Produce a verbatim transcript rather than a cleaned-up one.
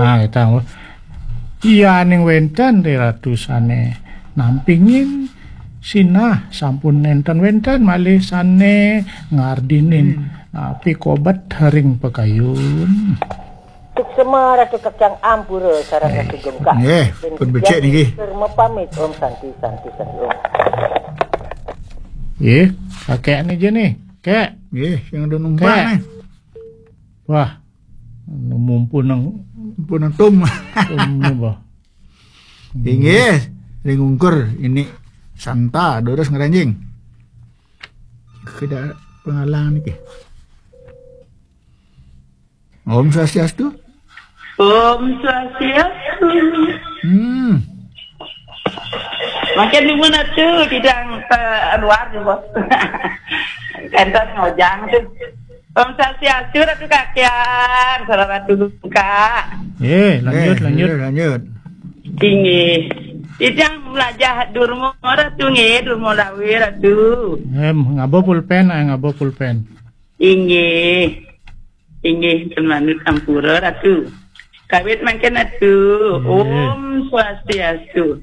Nah, kita iya ning wénten Ratu sané nampingin sinah sampun nénten wénten malih sané ngardinin hmm. Napi kobet ring pakayun. Suksema Ratu Kakyang ampura sareng Ratu Gungkak. Nggih, pun becik niki. Mepamit Om Santi Santi Santi Om. Nggih, kakek ni je nih, kek. Nggih, yang ada numpang nih. Wah, mumpun nang mumpun nang tum. Tum ni bah. Inggih, ring ungkur ini santa durus ngranjing. Tidak pengalang niki. Om Swastiastu. Om Swastiastu. Hmm. Makin di mana tu tidak uh, luar tu bos. Entar ngojang tu. Om Swastiastu Ratu Kakian, salah Ratu Luka. Eh, lanjut, eh, lanjut. Lanjut. Tinggi. Tidak melajah durmo Ratu nge, durmo lawe Ratu. Em, ngabo pulpen, eh, ngabo pulpen. Inggih. Inggih, ten manut ampura, Ratu. Kawit mangkin, Ratu. Inggih. Om Swastiastu.